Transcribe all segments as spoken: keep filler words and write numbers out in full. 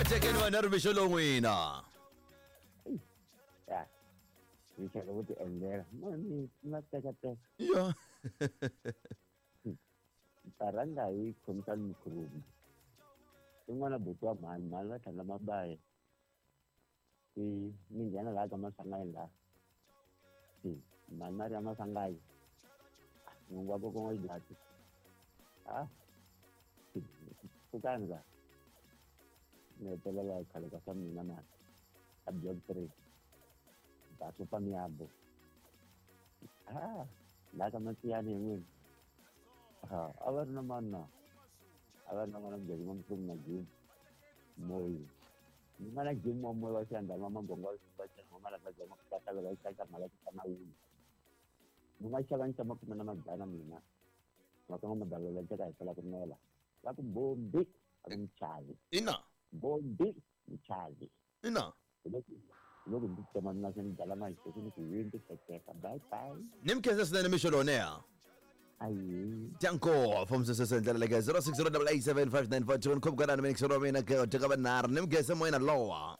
Tekeni vanharhu mixo lowu n'wina. Ya. Ni chaka ku ti endlela. Mani na teka teka. Ya. Taranga hi khomisani mukhurumu. In'wana buti wa mhani, mhani va tlhandla mabayi. I ni nghena laha ka Maswanganyi laha. Mhani na ri ya Maswanganyi. N'wingi wa kokwana wa xidlati. Ah. Pfukani la. Ni hetelela khale ka swa mina mani. A block three. Basopa miabo. Ah, laha ka Masiyani hi n'wina. Ah, a va ri na mani na? A va ri na n'wana mujeko n'wamfumo na Jim. Moyi. Ni nga na Jim wa moyi wa xiyandama magongo wa xibacana wa malava ma kata va xaka mala ku tana wulu. Ni nga xava ni makume na madzana mina. Ma ka ma dala la teka hi sala ku nela. Va ku bombi, a ku mchavi. Ina. Bombi, mchavi. Ina. Loko ndzi tsema na xi dala ma xi ni ku yini tekeka. Bye bye. Ni mi khensa swinene mixo lowu neha. Ayi. Danko from sese ndlela leke zero six zero eight eight seven five nine four two nkhobukana ni mixo mina ke teka vanharhu ni mi khensa moyena lowa.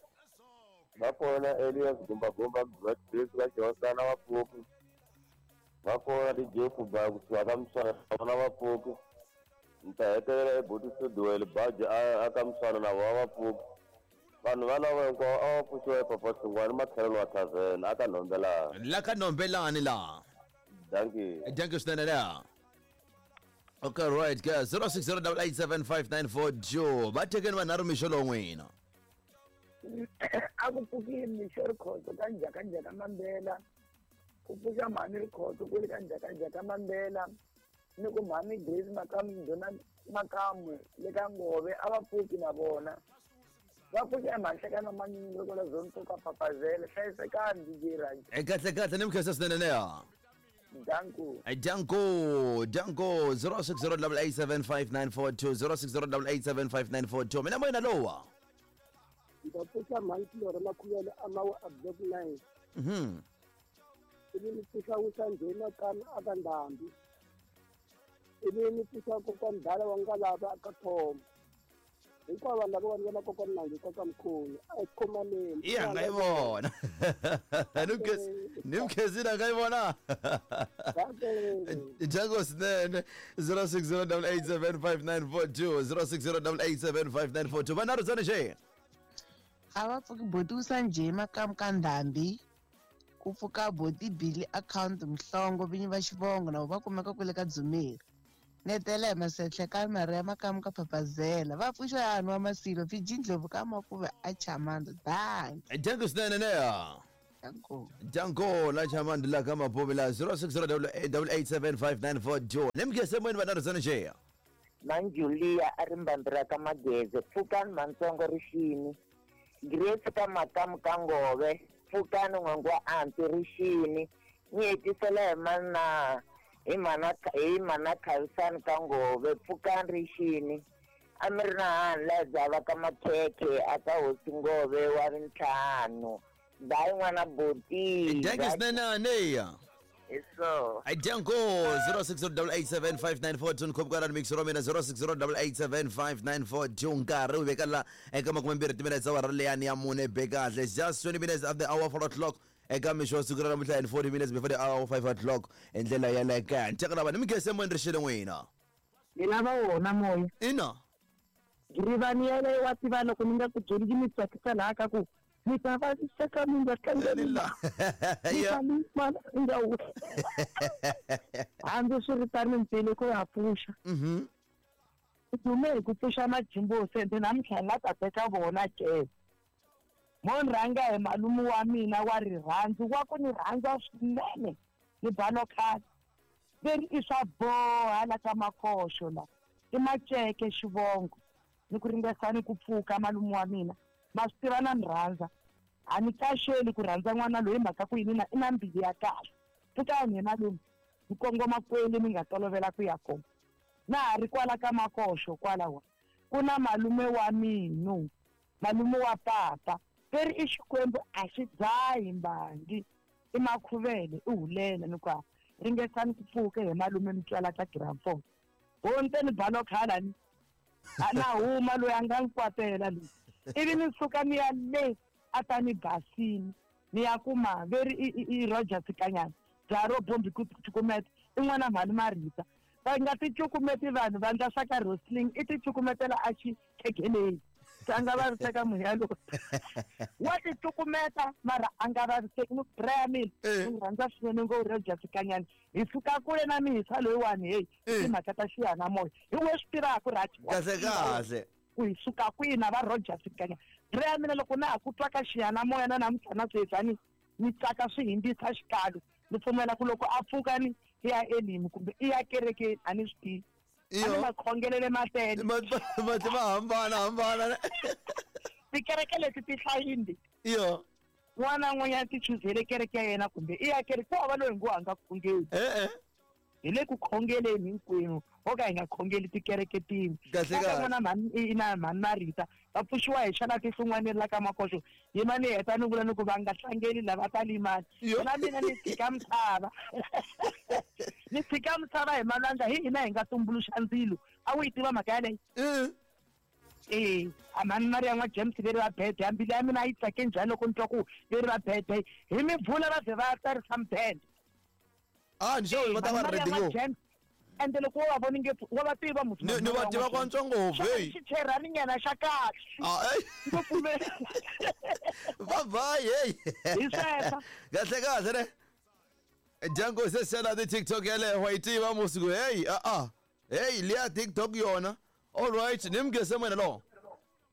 Va kona Elias Gumba Gumba Black Grace va Xihosana wa Pfuki. Va kona D J Kuba kusuka ka Mswana na va Pfuki. Ni ta hetelela eButi Studio Baji a ka Mswana na vona va Pfuki. Vanhu valavo hinkwavo a va pfuxiwa epapa Xingwani makhelelo wa tavern a ka Nhombelani. La ka Nhombelani la. Dankie. Dankie swinene la. Okay, right, guys. zero six zero eight eight seven five nine four two. Va tekeni vanharhu mixo lowu n'wina. A ku pfukile mixo Rikhotso ka njhakanjhaka Mambela. Ku pfuxa mhani Rikhotso ku ri ka njhakanjhaka Mambela. Ni ku mhani Grace Makamu Ndhuna Makamu le ka Ngove a va pfuki na vona. Va pfuxa emhanhlekano manyunyu loko la zone to ka Papazela. Hlayisekani D J Raji. E kahle kahle ni mi khensa swinene leya. Danko. Danko, Danko zero six zero eight eight seven five nine four two zero six zero eight eight seven five nine four two. Mina moyena lowa. Ndza pfuxa mhani Tilora Makhuvele a mawa a block nine. Mhm. Ivi ni pfuxa Wusanjhe Makana a ka Ndhambi. Ivi ni pfuxa kokwana Dala wa Ngalava a ka Thoma. Hinkwavo vanhu lava va nga kokwana Nangi ka Mkhulu a hi khomaneni. Iya nga yi vona. Ni mi khensile nga yi vona. Jango swinene zero six zero eight eight seven five nine four two zero six zero eight eight seven five nine four two. Vanharhu tsana xe. A va pfuki boti Wusanjhe Makamu ka Ndhambi. Ku pfuka boti Billy account Mhlongo vinyi va xivongo na va kumeka kule ka Dzumeri. Netela hi Masetlhe ka Maria Makamu ka Papazela. Va pfuxa yanhu wa Masilo Fiji Ndlovu ka Makuve a Chamando. Danki. Danko swinene neya. Danko. Danko la Chamando la ka Mapuve la zero six zero eight eight seven five nine four two. Ni mi khensa moyeni vanharhu tsana xe. Manjulia a ri mbambira ka Mageze. Pfukani Mantsongo rixini. Grace ka Makamu ka Ngove. Pfukani n'wangu wa Anti rixini. Ni hetisela hi mana hi mana hi mana Khavisani ka Ngove. Pfukani rixini. A mi ri na hani la dzava ka Makhekhe a ka Hosi Ngove wa rintlhanu. Dayi n'wana boti. Danki swinene neya. Eso. Danko zero six zero eight eight seven five nine four two nkhobukana ni mixo mina zero six zero eight eight seven five nine four two nkarhi wu veka la eka makume mbirhi timinetse awara leyani ya mune be kahle. Just twenty minutes after the hour four o'clock eka mixo wa siku ra namuntlha and forty minutes before the hour five o'clock hi ndlela ya le kaya. Ni teka lava ni mi khense moyeni rixile n'wina. Mina va wona moya. Ina. Girivani yeleyo wa tiva loko ni nga ku byeli yi mi tsakisa laha ka ku mi ta va seka mi nga tlangeli la. Mi nga wu. Hambi swi ri tano ntsena ku ya pfuxa. Mhm. U dume hi ku pfuxa majimbo sente namuntlha la ta teka vona ke. Mo ni rhanga hi malume wa mina wa rirhandzu wa ku ni rhandza swinene ni balo khale. Veri i swa boha la ka Makhoxo la. I Maceke xivongo. Ni ku ringesani ku pfuka malume wa mina. Ma swi tiva na ni rhandza. A ni kaxeli ku rhandza n'wana loyi mhaka ku yini na i na mbilu ya kahle. Pfukani hi malume ni kongoma kwele ni nga tolovela ku ya kona. Na ha ri kwala ka Makhoxo kwalawa ku na malume wa mina, malume wa papa. Veri i Xikwembu a xi dzahi mbangi. I Makhuvele i hulela ni ku ringesani ku pfuka hi malume mi twala ka gramphone. Ho ntseni balo khala ni. A na huma loyi a nga ni kwatela loyi. Ivi ni suka ni ya le a ta ni basini ni ya kuma veri i Roger Sikanyana bya ro bombi ku cukumeta i n'wana mhani Marita va nga ti cukumeti vanhu va ndla swa ka wrestling i ti cukumetela a xikhekeleni se a nga vaviseka munhu yaloye wa ti cukumeta mara a nga vaviseki ni braya mina ni rhandza swinene ngo Roger Sikanyana hi suka kule na mihisa loyiwani heyi timhaka ta xiyanimoya hi we swi tivaka Raj kahle kahle ku hi suka kwihi na va Roger Sikanyana braya mina loko na ha ku twa ka xiyanimoya na namuntlha na sweswi a ni ni tsaka swi hindzisa xikalo ni pfumela ku loko a pfuka ni i ya elimi kumbe i ya kerekeni a ni swi tivi a ni makhongelele matele mati ma hambana hambana tikereke leti ti hlayini iyo n'wana n'wanyana ti chuzele kereke ya yena kumbe i ya kereke ku hava loyi ngo a nga khongeli e-e hi le ku khongeleni hinkwenu ho ka hi nga khongeli tikereke tin'we kahle kahle n'wana mhani na mhani Marita va pfuxiwa hi xana tihlungwaneni la ka makoxo yima ni heta ni vula ni ku va nga tlangeli lava ta limala na mina ni tshika misava ni tshika misava hi malwandla hi hina hi nga tumbuluxa ndzilo a wu yi tiva mhaka yaleyo e a mhani Maria n'wa James veri va bede ya mbilu ya mina a yi tsake njhani loko ni twa ku veri va bede hi mibvula va ze va tsarisa mudende ah ni xo va ta va ready ngo ende loko wo va voni nge wa va tiva musi ni ni va tiva kwantswa ngopfu hey xicherani nyana xa kahle ah hey ngo pfumela bye bye hey hi sweswo kahle kahle ne Django se sela the TikTok yale wa yi tiva musi ku hey ah ah hey liya TikTok yona all right nimgese mina lo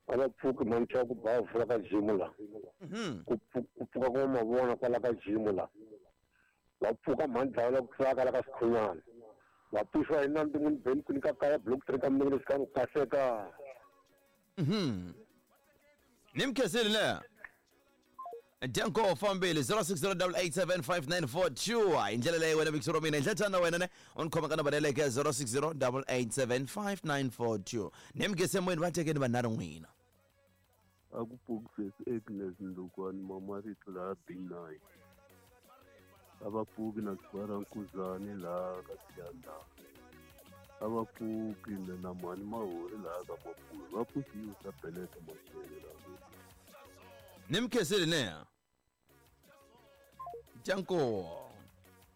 a va pfuki mantsha ku ba vula ka gym la ku pfuka ku mavona kwala ka gym la va pfuka mhandla la ku tsaka la ka sikhunyana va pfuxiwa hi na ndin'wini beni ku nyika kaya block three ka minenge lexi kahle ka mhm nimkhesile le Django fambile zero six zero eight eight seven five nine four two hi ndlela leyi wena Big Romina ndlela tana wena ne on khoma ka nambara yaleyo zero six zero eight eight seven five nine four two nimkhese moyeni va tekeni vanharhu n'wina a ku pfuki Agnes Ndukwana Mamarito laha B nine a va pfuki na Sibara Nkuzani laha ka Siyanda a va pfuki na mhani Mahori laha ka Mapuri va pfukiwe sa Beleta Mashele laha nimkhesile ne Django